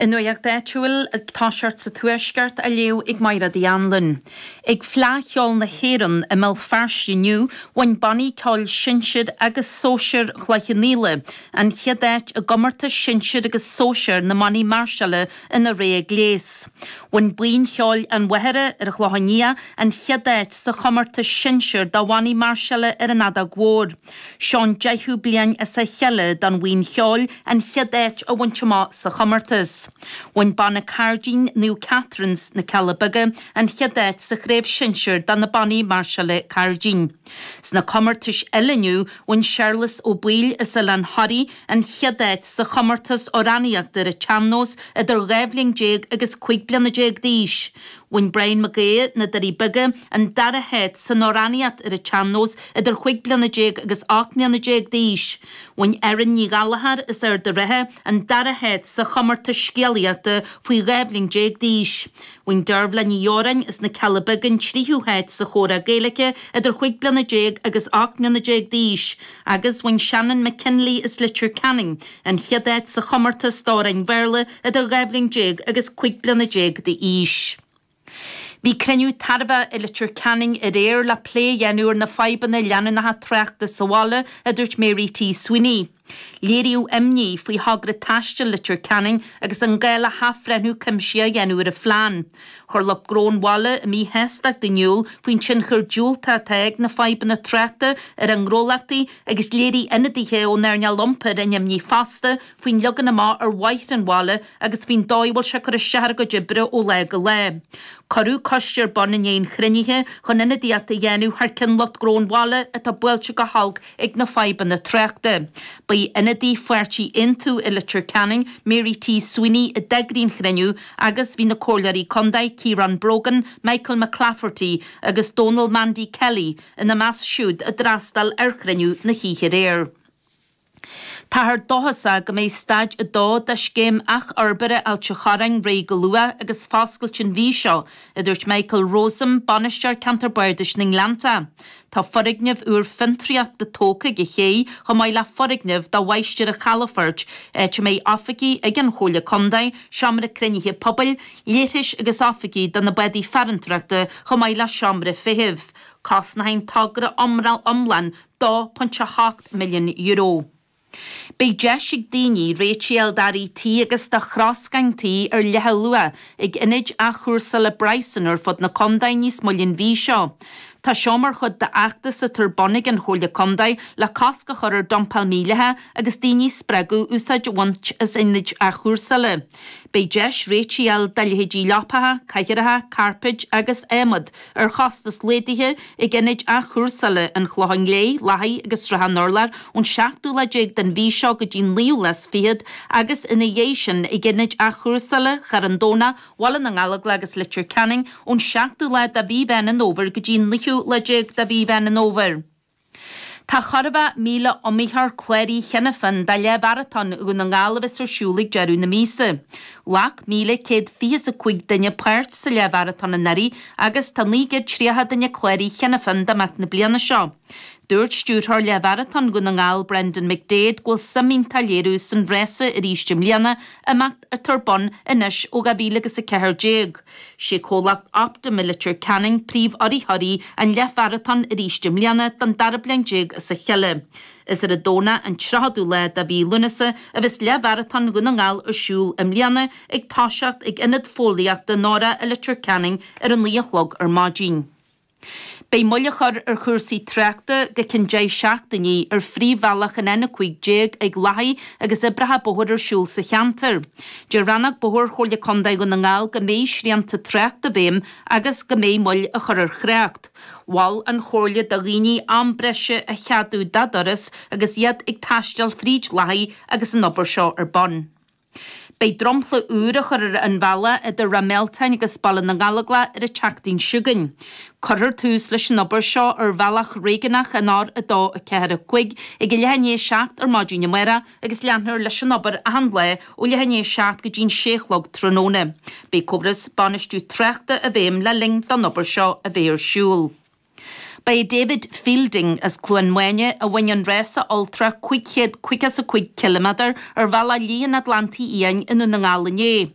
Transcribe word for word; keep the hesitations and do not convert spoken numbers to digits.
An nuacht áitiúil ag toiseacht sa Tuaisceart á léamh ag Máire Uí Anluain. Ag Fleadh Cheoil na hÉireann i mBéal Feirste inniu, bhain bannaí ceoil sinsir agus sóisir Chloich Cheann Fhaola an chéad áit i gcomórtas sinsir agus sóisir na mbannaí máirseála ina rogha gléas. Bhain Buíon Cheoil an Mhachaire ar an Chlochán Liath an chéad áit sa chomórtas sinsir do bhannaí máirseála ar an fheadóg mhór. Seo an deichiú bliain as a chéile don bhuíon cheoil an chéad áit a bhaint amach sa chomórtas. Bhain Banna Cairdín Naomh Catherine's na Cealla Beaga an chéad áit sa chraobh sinsir do na bannaí máirseála cairdín. Sna comórtais eile inniu bhain Séarlas Ó Baoill as Oileán Thoraí an chéad áit sa chomórtas amhránaíochta ar an tsean-nós idir dhá bhliain déag agus cúig bliana déag d'aois. Bhain Brian Mac Aodha, na Doirí Beaga, an dara háit san amhránaíocht ar an tsean-nós idir chúig bliana déag agus ocht mbliana déag d'aois. Bhain Erin Ní Ghallchóir as Ard an Rátha an dara háit sa chomórtas scéalaíochta faoi dhá bhliain déag d'aois. Bhain Dearbhla Ní Dheoráin as na Cealla Beaga an tríú háit sa chomhrá Gaeilge idir chúig bliana déag agus ocht mbliana déag d'aois, agus bhain Shannon McKinley as Leitir Ceanainn an chéad áit sa chomórtas d'amhráin Bhéarla idir dhá bhliain déag agus cúig bliana déag d'aois. Bhí cruinniú tairbhe i Leitir Ceanainn aréir le plé a dhéanamh ar na fadhbanna leanúnacha tráchta sa bhaile, a dúirt Mary T. Sweeney. Léiríodh imní faoi thogra taistil Leitir Ceanainn agus an gá le hathbhreithniú cuimsitheach a dhéanamh ar an phlean. Chuir lucht gnó an bhaile a míshástacht in iúl faoin tionchar diúltach atá ag na fadhbanna tráchta ar a ngnólachtaí agus léirigh ionadaithe ón earnáil iompair a n-imní fosta faoin leagan amach ar bhóithre an bhaile agus faoin dóigh a bhfuil sé ag cur isteach ar a gcuid oibre ó lá go lá. Cuireadh coiste ar bun i ndiaidh an chruinnithe chun ionadaíocht a dhéanamh thar cionn lucht gnó an bhaile atá buailte go holc ag na fadhbanna tráchta. Ba í ionadaí pháirtí Aontú i Leitir Ceanainn, Mary T. Sweeney, a d'eagraigh an cruinniú agus bhí na comhairleoirí contae Ciarán Brogan, Michael McClafferty agus Donal Mandy Kelly ina measc siúd a d'fhreastail ar chruinniú na hoíche aréir. Táthar dóchasach go mbeidh staid a dó de scéim athfhorbartha Ailt an Chorráin réidh go luath agus foscailte an mhí seo, a dúirt Michael Rosam, bainisteoir Ceantar Bardais na nGleannta. Tá foirgneamh úr fiontraíochta tógtha ag an ché chomh maith le foirgneamh do mháistir an chalafoirt, áit a mbeidh oifigí ag an Chomhairle Contae, seomra cruinnithe pobail, leithris agus oifigí do na bádaí farantóireachta chomh maith le seomra feithimh. Cosnóidh an togra iomlán dó ponc a hocht milliún euro. Beidh deis ag daoine réitigh a fháil d'earraí tí agus do throscáin tí ar leathluach ag ionaid athchúrsála Bryson ar fud na contae níos moille an mhí seo. Tá seo mar chuid d'fheachtas atá ar bun ag an Chomhairle Contae le cosc a chur ar dumpáil mhídhleathach agus daoine a spreagadh úsáid a bhaint as ionaid athchúrsála. Beidh deis réitigh a fháil do leithéidí leapacha, cathaoireacha, cairpéid agus adhmad ar chostas laghdaithe ag ionaid athchúrsála an Chlocháin Léith, Lathaí agus Srath an Urláir ón seachtú lá déag den mhí seo go dtí an naoú lá is fichead agus ina dhiaidh sin ag ionaid athchúrsála Charn Domhnach, Bhaile na nGallóglach agus Leitir Ceanainn ón seachtú lá de mhí Mheán an Fhómhair go dtí an naoú lá déag de mhí Mheán an Fhómhair. Tá chorrmhaith míle iomaitheoir cláraithe cheana féin do leathmharatón Dhún na nGall a bheas ar siúl ag deireadh na míosa. Ghlac míle céad fiche is a cúig duine páirt sa leathmharatón anuraidh agus tá naoi gcéad tríocha duine cláraithe cheana féin d'imeacht na bliana seo. Dúirt stiúrthóir leathmharatón Dhún na nGall Brendan McDaid go bhfuil suim iontach á léiriú san rása arís i mbliana, imeacht atá ar bun anois ó dhá mhíle agus a ceathair déag. Sé comhlacht Optum i Leitir Ceanainn príomhurraitheoirí an leathmharatóin arís i mbliana don dara bliain déag as a chéile. Is ar an Domhnach an tríochadú lá de mhí Lúnasa a bheas leathmharatón Dhún na nGall ar siúl i mbliana ag toiseacht ag Ionad Fóillíochta Nora i Leitir Ceanainn ar a naoi a chlog ar maidin. Beidh moill á chur ar chúrsaí tráchta go ceann deich seachtainí ar phríomhbhealach an N a cúig déag ag Lathaí agus oibreacha bóthair ar siúl sa cheantar. Deir Rannóg Bóthair Chomhairle Contae Dhún na nGall go mbeidh srianta tráchta i bhfeidhm agus go mbeidh moill á chur ar thrácht. Mhol an Chomhairle do dhaoine am breise a cheadú dá dturas agus iad ag taisteal fríd Lathaí agus an obair seo ar bun. Beidh dromchla úr á chur ar an bhealach idir Ráth Mealtain agus Baile na nGallóglach ar an tseachtain seo chugainn. Cuirfear tús leis an obair seo ar bhealach réigiúnach an R a dó a ceathair a cúig ag a leath i ndiaidh a seacht ar maidin amárach agus leanfar leis an obair achan lá ó leath i ndiaidh a seacht go dtí an sé a chlog tráthnóna. Beidh córas bainistiú tráchta i bhfeidhm le linn don obair seo a bheith ar siúl. Ba é David Fielding as Cluain Mháine a bhain an rása ultra cúig chéad caoga is a cúig ciliméadar ar bhealach Liath an Atlantaigh Fhiáin i nDún na nGall inné.